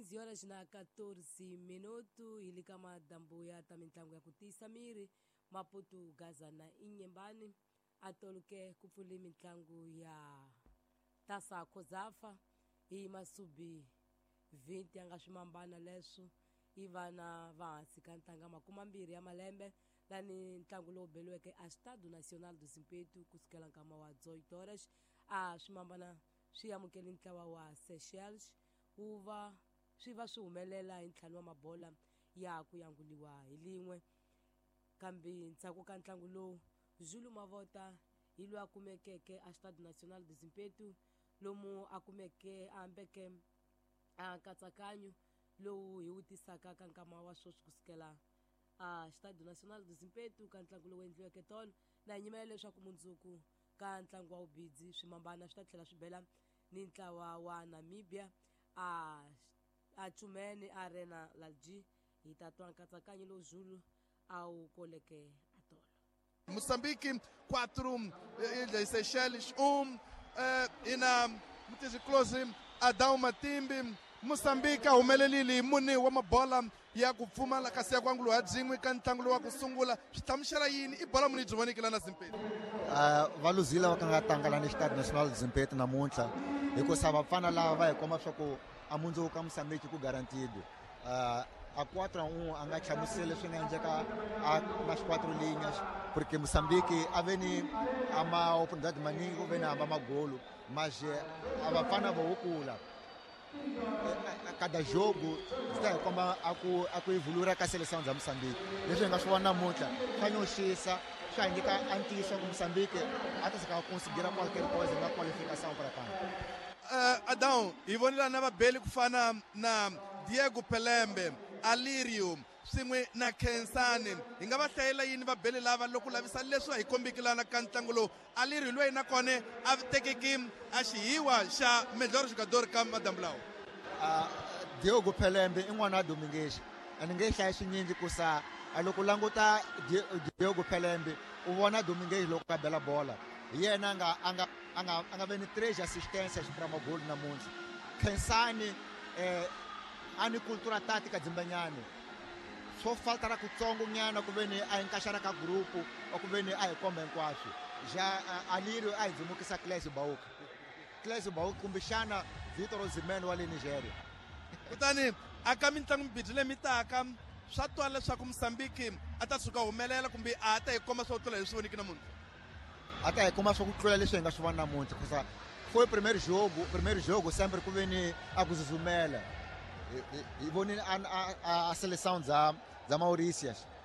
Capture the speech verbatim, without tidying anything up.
quinze horas na quatorze minuto hi le ka madambu ya ta mitlangu ya ku tiyisa miri Maputo, Gaza na Inhambane a toluke ku pfule mitlangu ya Taça COSAFA hi masubi vinte ya nga swimambana leswo i vana va hansi ka ntanga makumambirhi ya malembe lani ntlangu lowu beliweke a Estádio Nacional do Zimpeto kusukela nkama wa dezoito horas a swimambana swi amukele ntlawa wa Seychelles wu va swi va swi humelela hi ntlhanu wa mabola ya ku yanguliwa hi lin'we kambe ndzhaku ka ntlangu lowu Zulu Mavota hi loyi a kumekeke a Estádio Nacional do Zimpeto lomu a kumeke a hambeke a nkatsakanyo lowu hi wu tisaka ka nkama wa sweswi kusukela a Estádio Nacional do Zimpeto ka ntlangu lowu endliweke tolo na hi nyimela leswaku mundzuku ka ntlangu wa wubidzi swimambana swi ta tlhela swi bela ni ntlawa wa Namibia a a Chumene Arena Lalji hi ta twa nkatsakanyo lowu Zulu a wu koleke atolo. Moçambique quatro, Ilhas Seychelles um, eh, ina Mutizi Close Adão Matimbi. Moçambique a humelelile hi mune wa mabola ya ku pfumala kasi ya ku anguliwa ha byin'we ka ntlangu lowu wa ku sungula. Swi hlamusela yini i bola muni byi voneke lana Zimpeto? uh, va luzile va ka nga tlanga lani Estádio Nacional do Zimpeto namuntlha hikusa vafana lava va hi komba swa ku a mundzuku ka Moçambique ku guarantido. uh, a quatro a um a nga hlamuseli leswi nga endleka a nas quatro linhas, porque Moçambique a ve ni a ma oportunidade maningi ku ve ni hamba magolo, mas a vafana vo kula a cada jogo swi ta hi komba a ku a ku evoluir ka seleção bya Moçambique. Leswi hi nga swi vona namuntlha swa nyoxisa, swa hi nyika a ntiyiso ku Moçambique a ta sika conseguir qualquer coisa na qualificação para cá. uh, Adão, hi vonile na vabeli ku fana na Diego Pelembe, Alirio swin'we na Khensani. Hi nga va hlayela yini vabeli lava loko lavisa leswi a hi kombiki lana ka ntlangu lowu? Alirio loyi na kona a tekeki a xihiwa xa melhor jogador ka madambu lawa. uh, Diogo Pelembe i n'wana wa Domingues, a ni nge hlayi swinyingi kusa a loko languta Diogo Pelembe u vona Domingues loko a bela bola hi yena a nga a nga a nga a nga ve ni três assistências para magolo namuntlha. Khensani eh, a ni cultura tática dzimbanyani swo falta ra kutsongo nyana ku ve ni a encaixar ka grupo ou ku ve ni a hi komba hinkwaswo. Já Alirio a hi dzimukisa Clésio Bauka, Clésio Bauka kumbexana Victor Osimhen wa le Nigeria. Kutani aka mitlangu mibirhi leyi mi taka swa twala leswaku Mosambiki a ta tshuka humelela kumbe a ta hi komba swo tlula hi swi voniki namuntlha? A ta hi komba swa ku tlula leswi hi nga swi vona namuntlha kusa foi primeiro jogo. Primeiro jogo sempre ku ve ni a ku zuzumela. Hi vonile a, a, a seleção dza dza Mauritius.